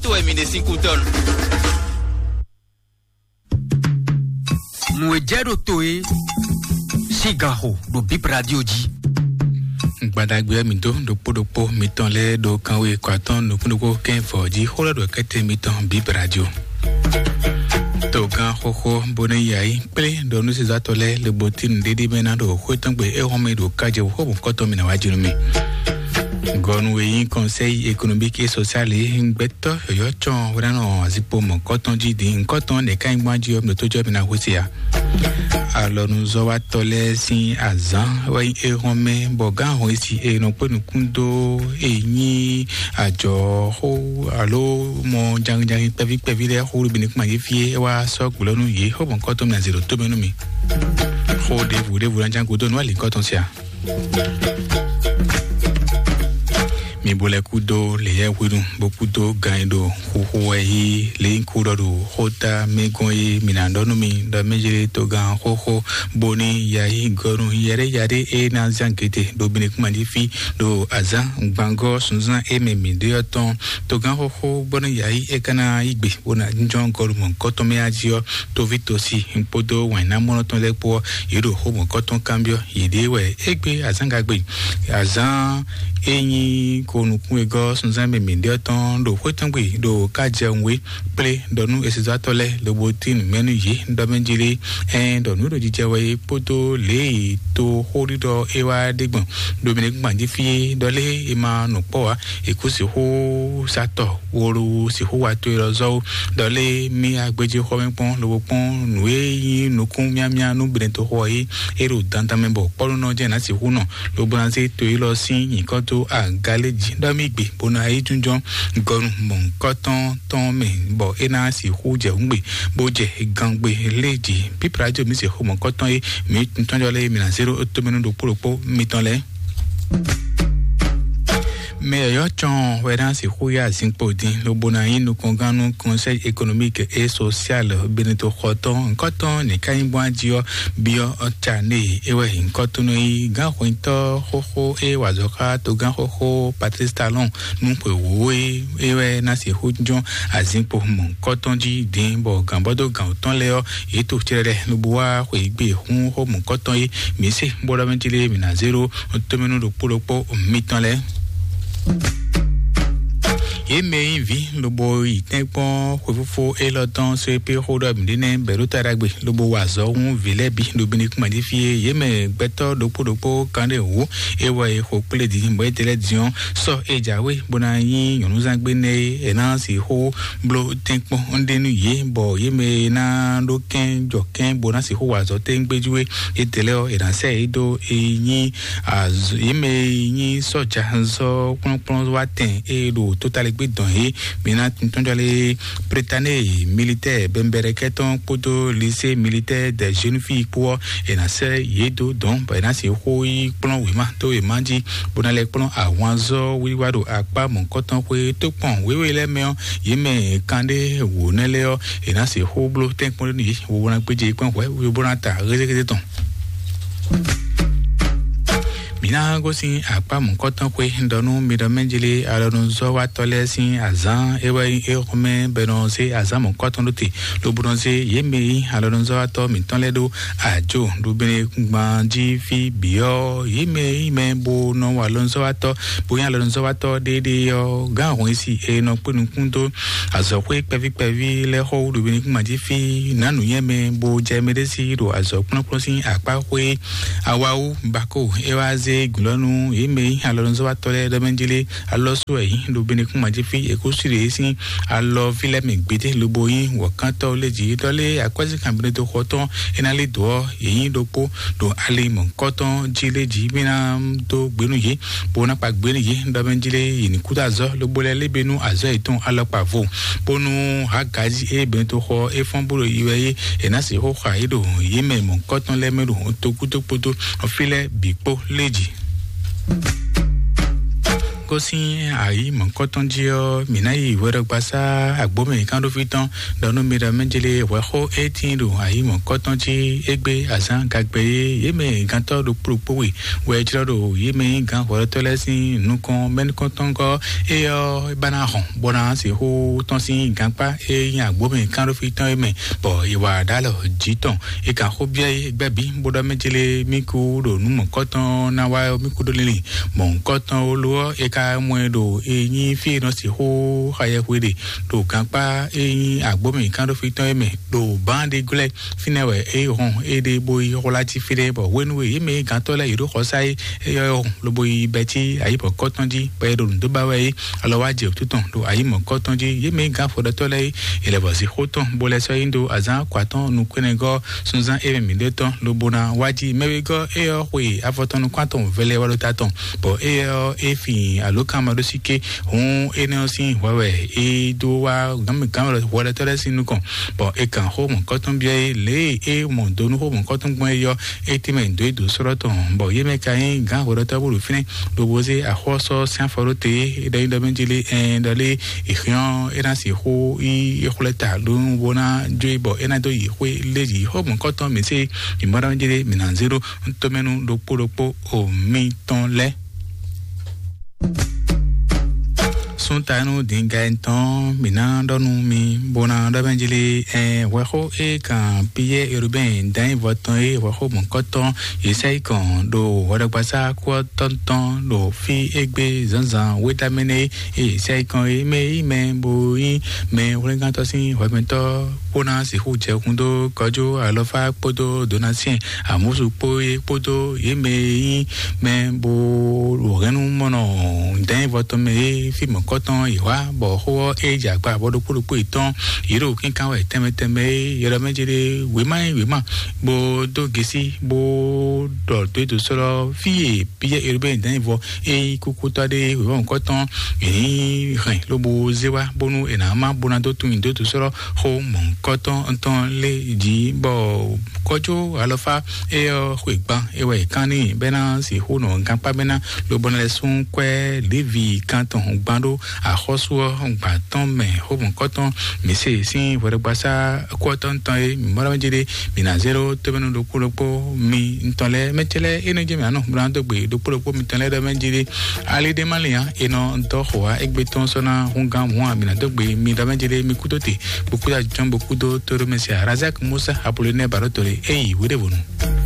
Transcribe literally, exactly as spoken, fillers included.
To wɛ mi ɖe sín kú tɔn. Nǔ e jɛ ɖo to e sín ganxo ɖo Bip Radio jí. Gbadagbe mi dó ɖokpó ɖokpó mitɔn lɛ́ɛ ɖo kanwe kɔ atɔn nukúnnukú kɛ́n vɔ jí xó lɛ́ ɖo kɛ́tɛ mitɔn Bip Radio. Togán xóxó bó ní yá yi kplé ɖɔ nú sezatɔ lɛ́ɛ le bo tín ɖéɖé mɛ ná ɖo xwé tɔn gbe é hɔn mɛ ɖo kájɛ xó bɔ kɔtɔn mi ná wá jí nú mi. Gɔnu e nyí Conseil économique et social e gbɛtɔ́ yɔ̌yɔ́ cɔn hwlɛ́nɔ azikpo mɔ̌kɔtɔn jí din ŋkɔtɔn nɛ̌ ká nyí gbɔn jí ɔ́, mǐ ɖo tó jɔ mǐ ná hwesí a? Alɔnuzɔ́watɔ́ lɛ́ɛ sín azǎn wɛ nyí éhɔ́nmɛ, bɔ gǎn ahɔn e si e nɔ kpé nukún dó e nyí ajɔ̌xó alo mɔ janginjangi kpɛví kpɛví lɛ́ɛ xó ɖo bǐ ní kún ma yí fí é wá sɔ́ gbɔ̌ nú yě xó mɔ̌kɔtɔn mǐ ná zě ɖo tó mɛ nú mi. Xó ɖěvo ɖěvo ná ján gúdo nú alǐkɔ́tɔn sia. Mi bo lɛ kúdó leyɛ hwenu bó kúdó gan e ɖo xuxu wɛ yí leyínkú ɖɔ ɖo xóta mɛ gɔn e mi ná ɖɔ nú mi ɖɔ mɛ jɛ togán xóxó bóní yayi gɔnu yɛɖé yaɖé e ná zán gete ɖo bini kúma jí fí ɖo azán gbangɔ sunzán e mɛ mi ɖe ɔ́ tɔn. Togán xóxó bóní yayi e ka ná yí gbe bó ná jɔn gɔnu mɔ gɔtɔn mɛ ají ɔ́, toví tosi kpódó wǎn ná mɔnɔ tɔn lɛ́ɛ kpó ɔ́, yě ɖo xó mɔ̌kɔtɔn kanbyɔ́ yěɖée wɛ é gbé azǎngagbe. Azǎn e nyí ko nukún e gɔ́ sunzán mɛ mǐɖé ɔ́ tɔn ɖo xwé tɔn gbe ɖo kájɛwé kplé ɖɔ nú esezatɔ́ lɛ́ɛ lobo tín nǔmɛ nú yě ɖɔ mɛ jí lé. Ɛn ɖɔ nǔ ɖo jijɛ wɛ é kpódó lě e to xóɖiɖɔ é wá ɖe gbɔn ɖo mǐ ɖe gbɔn jí fí é ɖɔ lé è ma nɔ kpɔ́ ǎ. È kú sixú satɔ wolo sixú wa to e lɔ zɔ́ ó. Ɖɔ lé mì agbéjé xɔ mɛ kpɔ́n lobo kpɔ́n nǔ e nyí nukún miamia nú Benɛtoxo ɔ́ é. É ɖo dandan mɛ bɔ kpɔ́núnɔ jɛ́n ná sixú nɔ lobo ná zé to élɔ́ sín nyǐkɔ dó aga lé jí ɖɔ mì gbe bó ná yi jínjɔ́n gɔnu mɔ̌hunkɔtɔn tɔn mɛ, bɔ é ná sixú jɛ hǔngbe bó jɛ gangbe lé jí. Pípla jǒ mǐ se xó mɔ̌hunkɔtɔn é mǐ tɔ́njɔ lé mǐ ná zé ɖó tómɛnú ɖokpó ɖokpó mitɔn lɛ́ɛ. Mɛ yɔ̌yɔ́ cɔn wɛ ná sixú yá zinkpo dín lobo ná nyí nukɔngán nú Conseil économique et social Benito xɔtɔn nkɔtɔn nìka nyí bɔn ají ɔ́ byɔ́ ɔ́ ca née é wɛ nkɔtɔn nɔ yí gán xwintɔ́ xóxó é wazɔ́ xá togán xóxó Patrice Talon nú xwewǒ é é wɛ ná sixú jɔn azinkpo mɔ̌hunkɔtɔn jí dín bɔ gǎnbɔ́dó gǎn tɔn lɛ́ɛ ɔ́ yě to cɛɖɛɖɛ lobo wá xweyǐgbe hún xó mɔ̌hunkɔtɔn é mǐ se bó ɖɔ mɛ jí lé mǐ ná zé ɖó tomɛnú ɖokpó ɖokpó mitɔn lɛ́ɛ. Yě mɛ e nyí vǐ lobo yi tɛ́nkpɔ́n xwefófó élɔ́ tɔn só e pé xó ɖɔ mǐ ɖe nɛ́ bɛ̌ ɖó ta ɖagbe lobo wa azɔ̌ hú vǐ lɛ́ɛ bǐ ɖo bǐ ní kún jí fí é. Yě mɛ gbɛtɔ́ ɖokpó ɖokpó kanɖé wǒ é wɛ è xo kplé din bɔ é ɖe lɛ́ɛ din ɔ́, sɔ́ é jǎwe bó ná nyí nyɔ̌núzángbé nɛ́ é è ná sixú bló tɛ́nkpɔ́n ɖé nú yě, bɔ yě mɛ e ná ɖó kɛ́n jɔ kɛ́n bó ná sixú wa azɔ̌ tɛ́ngbéjú é. Étɛlɛ́ ɔ́, è nǎ sɛ́ yě dó e nyí azɔ̌ yě mɛ e nyí sɔ́ja zɔ́ kplɔ́nkplɔ́n wá tɛn e ɖo tótaligbé dɔn é. Mi ná tɔ́njɔlé Britannie militaire bɛnbɛrɛkɛ tɔn kpódó lycée militaire des jeunes filles kpó ɔ́, è nǎ sɛ́ yě dó dɔn bɔ è nǎ sixú yi kplɔ́n wěma dó wěma jí bó ná lɛ́ kplɔ́n ahwanzɔ́ wiwa ɖo akpá mɔ̌hunkɔtɔn xwé tó kpɔn wěwe lɛ́ɛ mɛ ɔ́, yě mɛ kanɖé wǒ nɛ́ lɛ́ɛ ɔ́, è nǎ sixú bló tɛ́nkpɔ́n ɖé nú yě, wo ná gbéjé kpɔ́n hwɛ̌, wo bó ná ta hézéhézé tɔn. Mǐ ná gosín akpá mɔ̌kɔtɔn xwé ɖɔ nú mi ɖɔ mɛ jlé alɔnuzɔ́watɔ́ lɛ́ɛ sín azǎn é wɛ nyí éxɔ́mɛ bɔ è nɔ zé azǎn mɔ̌kɔtɔn ɖó te, lobo nɔ zé yě mɛ e nyí alɔnuzɔ́watɔ́ mǐtɔn lɛ́ɛ ɖó ajo ɖo bene gban jí fí bǐ ɔ́, yě mɛ e nyí mɛ bo nɔ wa alɔnuzɔ́watɔ́ bo nyí alɔnuzɔ́watɔ́ ɖéeɖée ɔ́, gǎn ahɔn e si è nɔ kpé nukún dó azɔ̌xwé kpɛví kpɛví lɛ́ɛ xɔ wú ɖo bene gban jí fí nǎ nǔnywɛ́ mɛ bo jɛ mɛ ɖé sí ɖo azɔ̌ kplɔ́nkplɔ́n sín akpá xwé. Awawu bako é wá zé glɔ́nú yě mɛ e nyí alɔnuzɔ́watɔ́ lɛ́ɛ ɖɔ mɛ jlé alɔ́sú wɛ yí ɖo bene kún mají fí è kó sí ɖě sín alɔ fí lɛ́ɛ mɛ gbédé lobo nyí wɔ̌kántɔ́ lé jǐ ɖɔ lé akwɛ́zínkan bene dó xɔ tɔn é ná lé dǒ ɔ́ yě nyí ɖokpó ɖo ali mɔ̌kɔtɔn jí lé jǐ mí ná dó gbénu yě bó ná kpa gbénu yě ɖɔ mɛ jlé yě ní kú dó azɔ́ lobo lɛ́ lé be nú azɔ́ yětɔn alɔkpa vo bónú hagazi e bɛn to xɔ e fɔn bó ɖo yi wɛ é è nǎ sixú xa yě ɖo yě mɛ mɔ̌kɔtɔn lɛ́ɛ mɛ ɖo togúdo kpódó fí lɛ́ɛ bǐ kpó lé jí. Kó sín ayǐ mɔ̌kɔ́tɔn jí ɔ́, mǐ ná yi hwɛɖɔgbasá agbǒmɛ kánɖófí tɔn ɖɔ nú mi ɖɔ mɛjlé hwɛxó e tíin ɖo ayǐ mɔ̌kɔ́tɔn jí égbé azǎn gagbɛ e yě mɛ gantɔ́ ɖokpó ɖokpó we wɛ jlɔ́ ɖo yě mɛ nyí gǎn hwɛɖɔtɔ́ lɛ́ɛ sín nukɔn mɛnukɔntɔngɔ́ é ɔ́, é ba ná hɔn bó ná sixú tɔ́n sín gankpá e nyí agbǒmɛ kánɖófí tɔn é mɛ, bɔ è wa ɖó alɔ jǐ tɔn. È kan xó byɔ́ é gbɛ́ bǐ bó ɖɔ mɛjlé mí kú ɖo nǔ mɔ̌kɔ́tɔn ná wá ɔ́, mí kú ɖó lili mɔ̌kɔ́tɔn ó lo ɔ́, è ka mɔ ɛ ɖo e nyí fí e nɔ sixú xa yɛhwe ɖe ɖo gankpá e nyí agbǒmɛ kánɖófí tɔn é mɛ ɖo bǎ ɖé glɛ́. Fínɛ́ wɛ é hɔn é ɖe bó yi xwlá cí fínɛ́, bɔ hwenu e yě mɛ gǎntɔ́ lɛ́ɛ yě ɖo xɔsá é, é yɔ hɔn lobo yi bɛ́ cí ayǐ mɔ̌kɔ́tɔn jí, bɔ é ɖo nǔ dó ba wɛ é. Alɔ wá jɛ wǔtu tɔn ɖo ayǐ mɔ̌kɔ́tɔn jí. Yě mɛ gǎn afɔɖɔtɔ́ lɛ́ɛ é, è lɛ́ vɔ zǐxó tɔn bó lɛ́ sɔ́ yí ɖó azǎn akɔatɔn nukúnnɛgɔ́ sunzán é mɛ mǐɖée tɔn lobo ná wá jí. Mɛ wegɔ́ é ɔ́ xwe afɔ tɔn nukún atɔn vɛlɛ wá ɖó ta tɔn, bɔ é ɔ́ é fin alǒkanmaɖósíké. Hǔn énɛ́ ɔ́ sín hwɛ wɛ é dó wá gǎnmɛ gǎnmɛ hwɛɖɔtɔ́ lɛ́ɛ sín nukɔn, bɔ è kan xó mɔ̌kɔ́tɔn byɔ́ é lě e é mɔ do nú xó mɔ̌kɔ́tɔn gbɔn é yɔ. É tɛ́nmɛ dó é dǒ sɔ́lɔ́ tɔn, bɔ yě mɛ ka nyí gǎn hwɛɖɔtɔ́ bó ɖo fínɛ́, lobo zé axɔ́ sɔ́ sín afɔ ɖó te é ɖɔ nyi ɖɔ mɛ jí lé ɛn ɖɔ lé è xyɔ́n é ná sixú yi é xwlɛ́ ta ɖó bó ná jó é, bɔ é ná dó yi xwé lé yi xó mɔ̌kɔ́tɔn mǐ sé. Mǐ mɔ ɖɔ mɛ jí lé mǐ ná zé ɖó tɔmɛnu ɖokpó ɖokpó o mitɔn lɛ́ɛ. Súntanú dǐngá tɔn mǐ ná ɖɔ nú mi bó ná ɖɔ mɛ jí lé ɛ hwɛxó é kan Piyɛ́ɛ Erubɛ́n dǎnyívɔ tɔn é hwɛxó mɔ̌kɔ́tɔn Yesayikɔn ɖo hwɛɖɔgbasá kú ɔ́ tɔn tɔn ɖo fí égbé zǎnzǎn wétamɛnɛ é. Yesayikɔn é mɛ yí mɛ bó nyí mɛ hwlɛ́ngántɔ́ sín hwɛmɛtɔ́ kpó ná sixú jɛ kún dó kɔjú alɔfá kpódó donasiɛn amúsu kpó é kpódó yě mɛ e nyí mɛ bó ɖo hɛ̌nnu mɔnɔ dɛ̌nvɔ tɔn mɛ é fí mɔ̌kɔ́tɔn yě wá, bɔ xó ɔ́ é jɛ akpa bɔ ɖokpó ɖokpó yětɔn yě ɖo kínkán wɛ tɛnmɛ tɛnmɛ é yɛ ɖɔ mɛ jɛ ɖe wěma e wěma bó dó gesi bó ɖɔ dó é dó sɔ́ ɖɔ fí e Piyɛ́ɛ Erubɛ́n dɛ̌nvɔ é nyí kúkútɔ́ ɖé wěma mɔ̌kɔ́tɔn è ní hɛn lobo zé wá bónú è nǎ má bó ná dó tunwun dó dó sɔ́ ɖɔ xó mɔ̌kɔ́tɔn tɔn lé jí, bɔ kɔjó alɔfá é ɔ́ xwe gban é wɛ è kán n'i bɛ́ ná sixú nɔ gankpá bɛ́ ná lobo ná lɛ́ sún kwɛ́ Levi kan tɔn gban ɖó axɔ́sú ɔ́ gban tɔn mɛ xó mɔ̌kɔ́tɔn mǐ se sín hwɛɖɔgbasá kú ɔ́ tɔn tɔn é mǐ mɔ ɖɔ jí ɖé mǐ ná zé ɖó tómɛnú ɖokpó ɖokpó mi ntɔn lɛ́ɛ mɛ cɛ lɛ́ɛ é nɔ jɛ mǐ anɔ bó ná dó gbe ɖokpó ɖokpó mi tɔn lɛ́ɛ ɖɔ mɛ jí ɖé. Ali ɖé má lin ǎ, è nɔ dɔ xo wá égbé tɔn sɔ́ ná húngán hǔn amǐ ná dó gbe mi ɖɔ mɛ jí ɖé mi kú tó te bó kú dó ajɔn bó kú dó tóɖó mɛ se Razak Musa Apolonɛ Barotole é yi wéɖévonu.